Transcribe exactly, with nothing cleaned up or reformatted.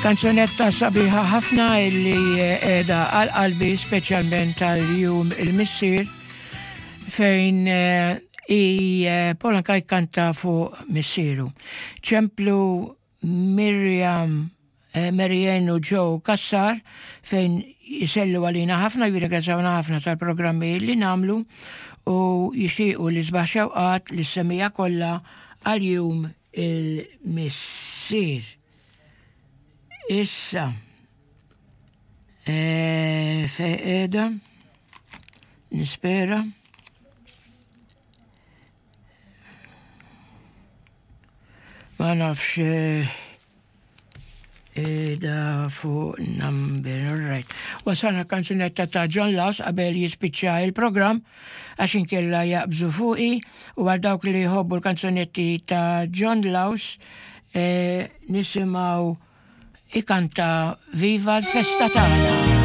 Kanzunetta sabiħa ħafna illi qiegħda għal qalbi, speċjalment tal-Jum il-Missier, fejn eh, i eh, Paul Anka jkanta fuq missieru. Ċemplu Miriam eh, Marianne u Joe Kassar fejn jisellu għalina ħafna, jirringrazzjawna ħafna tal-programmi li nagħmlu u jixtiequ l-isbaħ xewqat lis-semmiegħa kollha għal Jum il-Missier. Issa, e, fejn qiegħda, nispera. Ma nafx da fuq number, all right. Wasalna kanzunetta ta' John Laus qabel jispiċċa il-program, għax inkella jaqbżu fuqi, u għal dawk li jħobbu l-kanzunetti ta' John Laus e, nisimgħu ikanta "Viva l-Festa Tagħna".